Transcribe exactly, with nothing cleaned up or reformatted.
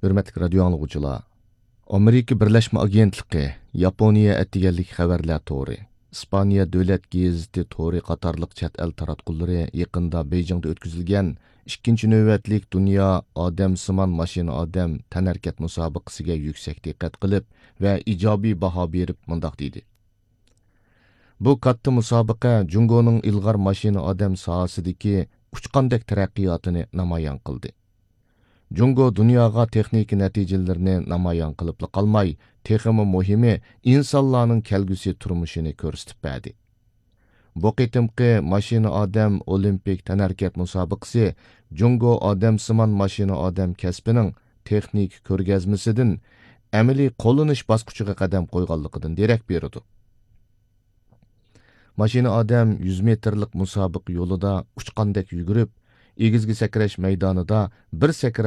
ھۆرمەتلىك رادىيو ئاڭلىغۇچىلار، ئامېرىكا بىرلەشمە ئاگېنتلىقى، ياپونىيە ئەتىگەنلىك خەۋەرلەر تورى، ئىسپانىيە دۆلەت گېزىتى تورى قاتارلىق چەت ئەل تاراتقۇلىرى يېقىندا بېيجىڭدا ئۆتكۈزۈلگەن ئىككىنچى نۆۋەتلىك دۇنيا ئادەمسىمان ماشىنا ئادەم تەنھەرىكەت مۇسابىقىسىگە يۈكسەك دىققەت قىلىپ ۋە ئىجابىي باھا بېرىپ مۇنداق دېدى: بۇ كاتتا مۇسابىقە جۇڭگونىڭ ئىلغار ماشىنا ئادەم ساھەسىدىكى ئۇچقاندەك تەرەققىياتىنى نامايان قىلدى. جۇڭگو دۇنياغا تېخنىكا نەتىجىلىرىنى نامايان قىلىپلا قالماي، تېخىمۇ مۇھىمى، ئىنسانلارنىڭ كەلگۈسى تۇرمۇشىنى كۆرسىتىپ بەردى. بۇ قېتىمقى ماشىنا ئادەم ئولىمپىك تەنھەرىكەت مۇسابىقىسى جۇڭگو ئادەمسىمان ماشىنا ئادەم كەسپىنىڭ تېخنىكا كۆرگەزمىسىدىن ئەمەلىي قوللىنىش باسقۇچىغا قەدەم قويغانلىقىدىن دېرەك بېرىدۇ. ماشىنا ئادەم يۈز مېتىرلىق مۇسابىقە يولىدا ئۇچقاندەك يۈگۈرۈپ، ئېگىزگە سەكرەش مەيدانىدا بىر سەكرەپ